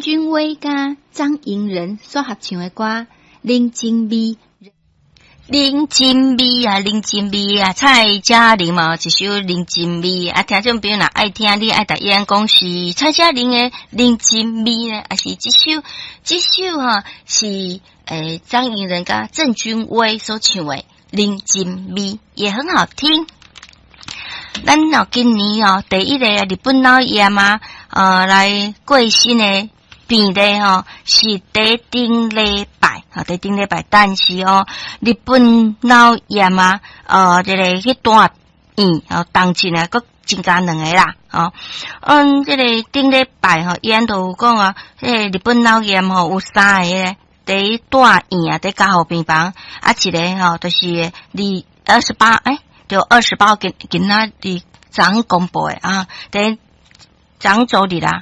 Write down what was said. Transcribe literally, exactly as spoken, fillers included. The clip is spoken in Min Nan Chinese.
君威佮張盈仁所合唱的歌《人情味》。人情味啊，人情味啊，蔡嘉玲嘛，一首《人情味》啊，聽眾朋友若愛聽，你愛逐伊講是蔡嘉玲的《人情味》呢，抑是這首？這首吼是誒張盈仁佮鄭君威所唱的《人情味》，也很好聽。咱哦今年哦第一個日本腦炎啊，呃來過身的病例吼是佇頂禮拜，吼佇頂禮拜，但是哦日本腦炎啊，呃這个去住院哦，當前啊，閣增加兩個啦，吼，嗯，這个頂禮拜吼，醫院都有講啊，這个日本腦炎吼有三个佇住院啊，佇加護病房，啊，一个吼就是二二十八，欸，就二十八號今今仔日昨昏公布的啊，佇昨周日啦。